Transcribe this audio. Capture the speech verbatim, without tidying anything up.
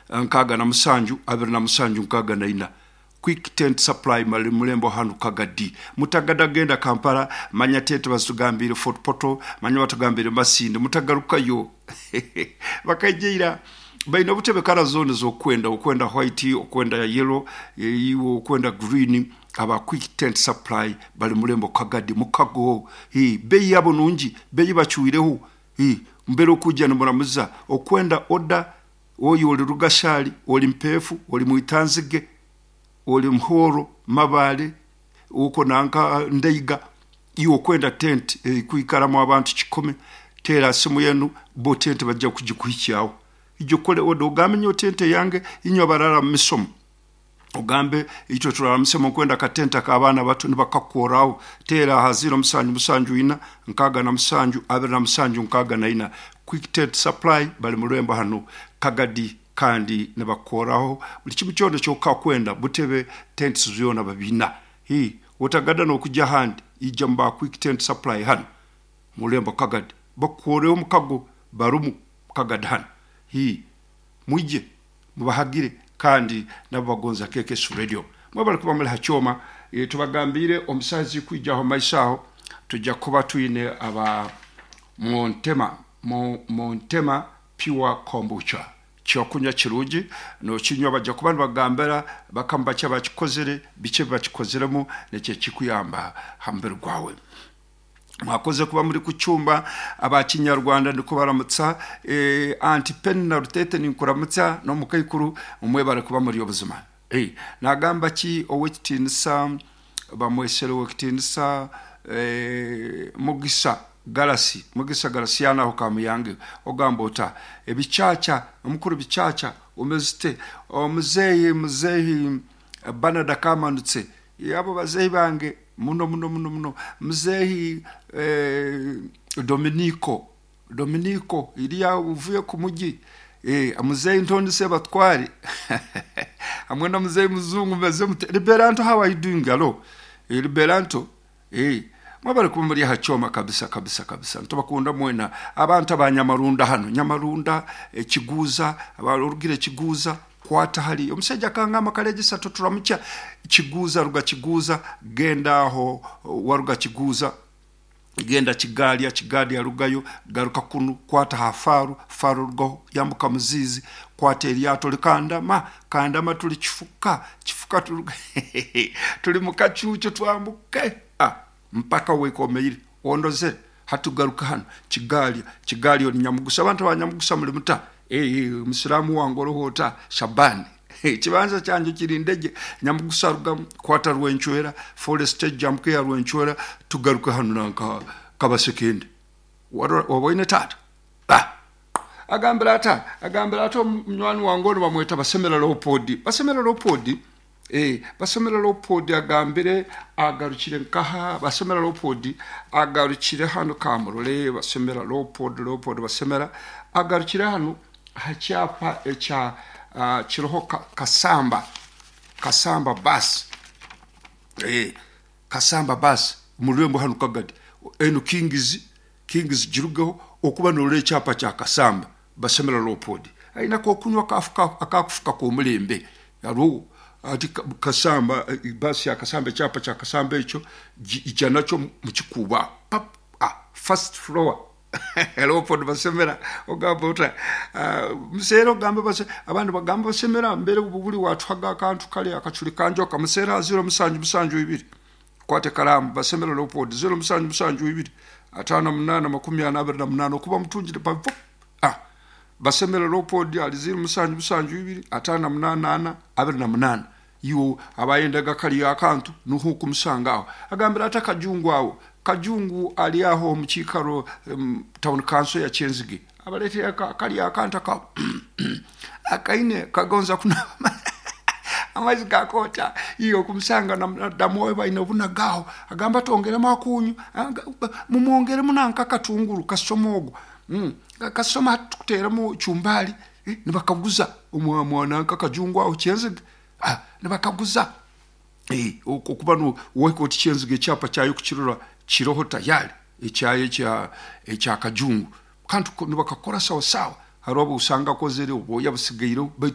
Nkaaga na musanju, abiri na musanju, nkaaga na ina. Quick Tent Supply mali mulembo hanu Kagadi. Mutagada genda Kampala, manya tente bazitugambire Fort Portal, manya batugambire Masindi, mutagarukayo. Bakaijeira baina obutebe kara zone z'okwenda, okwenda white, okwenda yellow, iwe okwenda green. Aba Quick Tent Supply bali mulembo Kagadi mukago. Hi beyi yabo nungi, beyi bacuireho. Hi mbere okujja nimuramuza okwenda oda oyo oli Rugashali, oli Mpefu, oli Mwitanzige, oli Muhoro, Mabale, uko nanka Ndeiga, iwe okwenda tent eh, kwikaramu abantu kikumi, tera simu yenu bo tent bajja kugikuhikyaho. Ijo kole oda ogambe nyo tente yange inyo barara mu misomo, ogambe itwe turara misemo kwenda katenta k'abaana bato nibakakoraho. Tera aha ziro musanju musanju ina, nkaaga na musanju, abiri na musanju, nkaaga na ina. Quick Tent Supply bali mu hano Kagadi, kandi nibakoraho buli kimu kyona kyokakwenda, butebe, tents byona babina. Hi otagada n'okujja handi, ija mu ba Quick Tent Supply hano mulembo Kagadi, bakukoreho mukago barumu Kagadi hano. Hi mwije mubahagire, kandi nabo bagonza K K S Radio. Mwebale kuba muli hakyoma. e, tubagambire omusazi kwijaho maiso aho tujja kuba twine aba Montema, Montema Pure Kombucha, kyokunywa kirungi nokinywa. Bajja kuba nibagambira bakamba bakya bakikozere, biki bakikozeremu, nekyo kikuyamba ha mubiri gwawe. Mwakoze kuba muri ku cyumba. Abakinyarwanda ndiko baramutsa, eh, anti Pen na Rutete ninkuramutsa no mukaikuru, umwe kuba muri obuzima. eh, nagamba ki owekitiinisa bamwesere owekitiinisa eh, Mugisa Galasi, Mugisa Galasiana aho Kamuyange, ogamba ota ebicaca omukuru bicaca omezite omuzeeyi, muzeeyi Banada kamanutse, abo bazeeyi bange muno muno muno muno. Muzeeyi eh, Dominico, Dominico iriya uvuye ku mugi, eh, muzeeyi Ntondi Sebatwari hamwe na muzeeyi Muzungu, meze mute? Liberanto, how are you doing? Hello, eh, Liberanto, eh, mwabari kuba muri hacyoma kabisa kabisa kabisa. Ntubakunda mwena abantu abanyamarunda hano Nyamarunda, ekiguuza abarugire Kiguuza, kwata hali omusajja kangamba kalegisa tuturamukya Kiguuza, ruga Kiguuza genda aho waruga Kiguuza, genda Kigalya, Kigalya rugayo garuka kunu, kwata ha faru, faru rugaho yambuka Muzizi, kwata eryato likandama, kandama tuli Kifuka, Kifuka tuli tuli mukacucu, twambuke ah, mpaka wekomeire ondozere hatugaruka hano Kigalya, Kigalya ni Nyamugusa. Abantu ba Nyamugusa muli muta? Eh, musiramu wange orohota Shabani, ekibanza kyanje kiri Ndege. Nyamugusa ruga kwata Rwenchwera forest, jamke ya Rwenchwera, tugaruka hano nanka Kabasekende. Waboine tata ah agambira ata agambira ata omunywani wange ono bamweta Basemera Leopold, Basemera Leopold, eh Basemera Leopold agambire agarukire nkaha. Basemera Leopold agarukire hano Kamurole. Basemera Leopold, Leopold Basemera agarukire hano hakyapa ekya uh, kiroho ka, Kasamba, Kasamba bus, eh Kasamba bus mu hano Kagadi eno Kings, Kings girugaho okuba norora ekyapa kya Kasamba. Basemera Leopold aina kokunywa akakufuka k'omulembe hariho ati Kasamba basi ya Kasamba, ekyapa kya Kasamba ekyo ija nakyo mukikuba pap, ah, first floor. Leopold Basemera ogamba ota uh, museera ogamba base abandi bagamba Basemera mbere buli watuhaga akantu kale akaculi kanjoka. Museera zero musanju musanju ibiri, kwate karamu, Basemera Leopold zero musanju musanju ibiri atano munana makumi ana abiri na munana, okuba mutungire pa ah Basemera Leopold ali zero musanju musanju ibiri atano munana ana abiri na munana. Iwo abayendaga kali akantu nuho kumusanga aho. Agambira ata Kajungu awo, Kajungu ali aho mu kiikaro um, town council ya Kyenzige, abaletera kali akantu aka akaine kagonza kunaba amaizi gakota iyo kumusanga namuwe baine obunagaho. Agamba tongeremu akunyu, mumwongeremu nanka katunguru kasoma ogwo mm. kasoma tukuteremu chumbali eh, nibakaguza omwananka Kajungu aho Kyenzige, ah, nibakaguza eh, okuba no weko Kyenzige ekyapa kyayo kukirora kiroho tayari ekyayo ekya ekya Kajungu kantu nibakakora sawa sawa. Hariho obusanga akozere obwoya busigaire baitu.